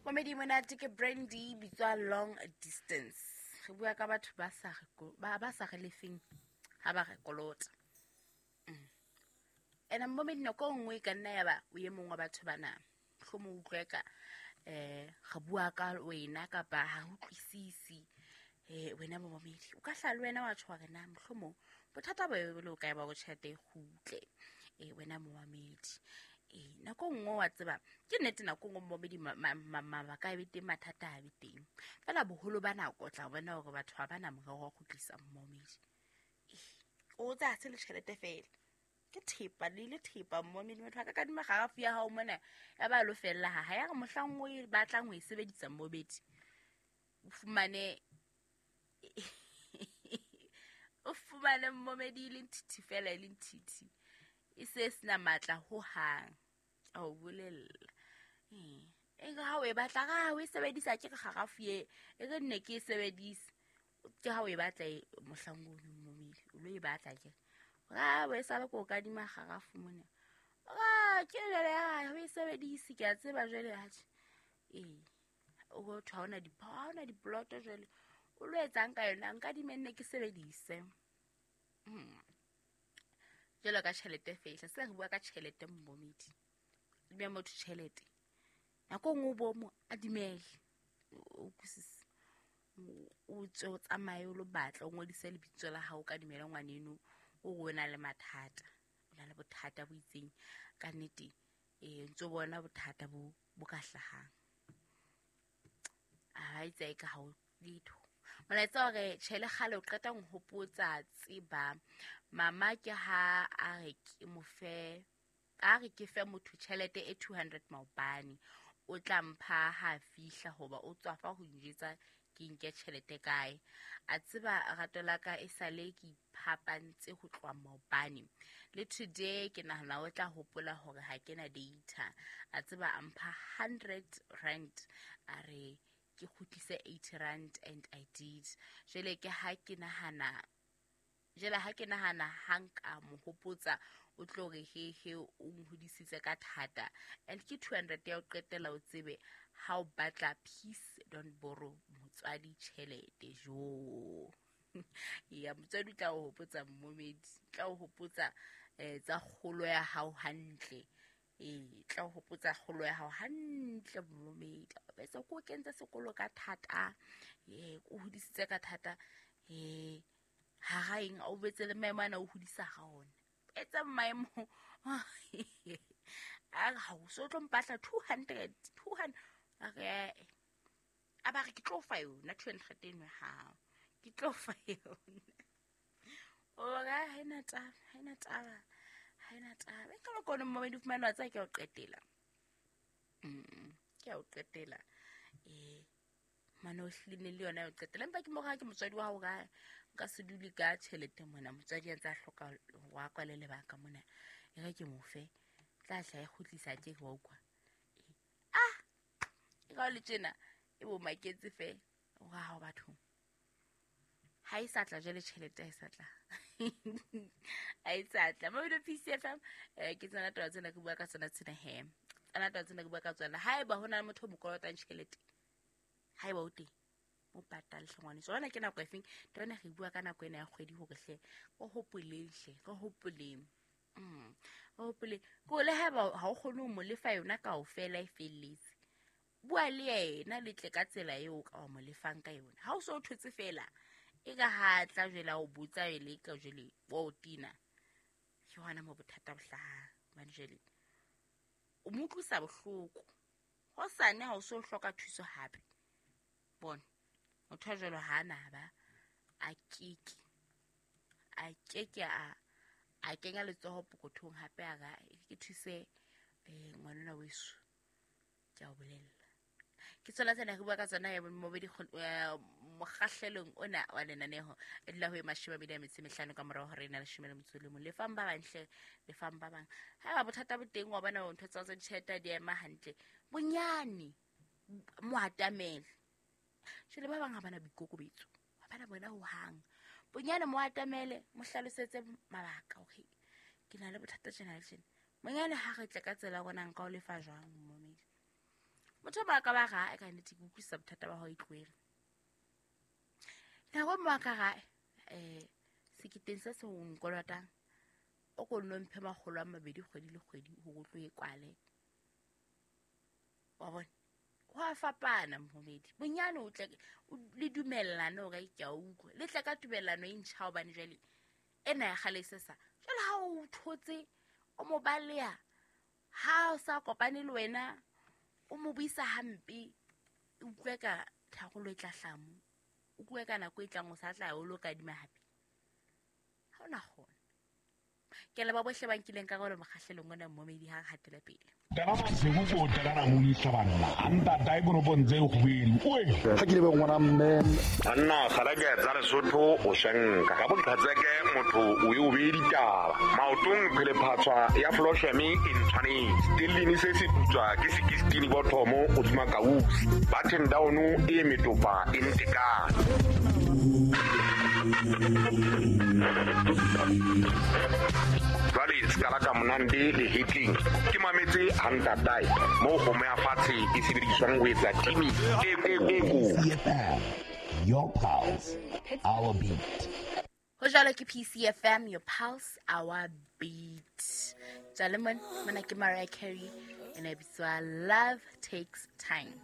Momedi monate ke Brandy bitswa Long Distance. Re bua ka batho ba sa re ba sa re lefeng ha ba re kolota. Ena momedi nako e nngwe e ka nna ya ba o e mongwe wa batho bana. Mohlomong o utlwe ka re bua ka wena kapa ha re utlwisisi wena momedi. O ka hlaha le wena wa tjho hore na mohlomong bothata bo le o kae ba hore tjhelete e kgutle. Wena momamedi. Nako e nngwe wa tseba ke nnete, nako e nngwe momedi mabaka a be teng, mathata a be teng. Feela boholo ba nako o tla bona hore batho ha ba na morero wa ho kgutlisa momedi. O tsa se le tjhelete feela. Ke thepa le thepa momedi, motho a ka kadima kgarafu ya hao mona ya ba lo fella ha ya re mohlang o e batlang ho e sebedisa momedi o fumane o fumane momedi e le nthithi fela, e le nthithi e se sena matla ho hang. A o bolella e re ha o e batla ra o e sebedisa ke re kgarafu e re nne ke e sebedise ke ha o e batla mohlang o momedi o lo e batla ke ra o e sale ko kadima kgarafu mona ra ke jwale ha o e sebedise ke a tseba jwale atjhe o thwa ha ona diploto jwale o lo etsang ka yona nka dimenne ke sebedise. Jwalo ka tjhelete fehla se re bua ka tjhelete momedi adima motho tjhelete nako nngwe o bo mo adimele o utlwisise o tswe o tsamaye o lo batla o ngodise lebitso la hao ka dumela ngwaneno o re o na le mathata o na le bothata bo itseng ka nnete ntso bona bothata bo ka hlahang a itse e ka hao letho. Molaetsa hore tjhe le kgale o qeta ho nhopotsa tseba mama ke ha a re ke mo fe a re ke fe motho tjhelete e 200 maobane o tla mpha ha fihla hoba o tswafa ho njwetsa ke nke tjhelete kae. A tseba rato la ka e sale ke iphapantse ho tloha maobane le today ke nahana o tla hopola hore ha ke na data. A tseba a mpha 100 rand a re ke kgutlise 80 rand and I did. Jwale ke ha ke nahana jwale ha ke nahana ha nka mo hopotsa o tlo re he he o nhodisitse ka thata and ke 200 ya ho qetela o tsebe ha o batla peace don't borrow motswadi tjhelete jo. Ya motswadi o tla o hopotsa momedi tla o hopotsa tsa kgolo ya hao hantle. Tla o hopotsa kgolo ya hao hantle momedi. Bese ko kentse sekolo ka thata o hodisitse ka thata ha ga eng o betse le maemo ana o hodisa ga ona etsa maemo a ga o so tlo mpatla 200 a re a ba re ke tlo fa yona 200 eno ya hao ke tlo fa yona o ra ha ena taba ha ena taba ha ena taba e ka ba kone momedi o fumane wa tsaya ke o qetela ke o qetela mane o hlile le yona o qetela empa ke mo ga ke motswadi wa hao ka nka se dule ka tjhelete mona motswadi a ntse a hloka wa kwale lebaka mona e re ke mo fe tla tla e kgutlisa ke wa utlwa ah e ka le tjena e bo maketse fe wa hao batho ha e sa tla jwale tjhelete ha e sa tla ha e sa tla mo PCFM ke tsena taba tsena ke bua ka tsona tsena he tsena taba tsena ke bua ka tsona haeba ho na le motho o mo kolotang tjhelete haeba o teng o patale hle ngwaneso ona ke nako efeng taba re bua ka nako ena ya kgwedi hore hle o hopoleng hle re hopoleng o hopoleng ko le haeba ha o kgone ho mo lefa yona kaofela e felletse bua le yena le tle ka tsela eo ka wa mo lefang ka yona ha o so o thotse fela e ka ha tla jwale o botsa ele ka jwale wa o tina ke hona mo bothata bo hlahang hobane jwale o mo utlwisa bohloko hosane ha o so hloka thuso hape bona motho a jwalo ha na ba a keke a kenya letsoho pokothong hape a ra ke thuse ngwanona weso ke a o bolella ke tsona tsena re bua ka tsona ya mobedi mokgahlelong ona wa lenaneho e dula ho e 25 ka morao hore ena 11 lefang ba bang hle lefang ba bang haeba bothata bo teng wa bona ntho tsa ditjhelete di ema hantle bonyane mo atamele jwale ba bang ha bana boikokobetso ha bana bona ho hang bonyane mo atamele mo hlalosetse mabaka okay ke na le bothata tjena le tjena bonyane ha re tle ka tsela rona nka o lefa jwang momedi. Motho o mong a ka ba ra ka nnete ke utlwisisa bothata ba hao e tlohele. Nako e nngwe a ka ra seketeng se seng o nkolotang o ko nno mphe 200 kgwedi le kgwedi hore o tlo e kwale. Wa bona? Ho a fapana momedi. Bonyane o tle le dumellane hore ke a utlwa. Le tle ka tumellano e ntjha hobane jwale ena ya kgale e se sa. Jwale ha o thotse o mo baleha, ha o sa kopane le wena o mo buisa hampe, o utlwe ka tharollo e tla hlaha moo. O utlwe ka nako e tlang o sa tla o lo kadima hape. Ha o na kgona. Ke leboha bohle ba nkileng karolo mokgahlelong ona momedi ha re hatele pele. Tala Maseku ko tala Ramolisa banna. A ntatae konopong tse kgubedu. Oe! Ha ke lebe ngwana mme. Banna kgalake tsa Lesotho o shenka. Ka boqhetseke motho o e o beye ditaba. Maotong phelephatshwa ya Flosheme e ntshwanetse. Stellini se se putswa ke sekistini bothomo hodima kausi. Button down e metopa e ntekane. Jwale se ka monande le hitling ke mametse ha ntatae moo kgomo ya fatshe e sebediswang ho etsa timi e koko. PCFM, your pulse, our beat. Ho jwalo ke PCFM, your pulse, our beat. Jwale mona ke Mariah Carey ene bitswa Love Takes Time.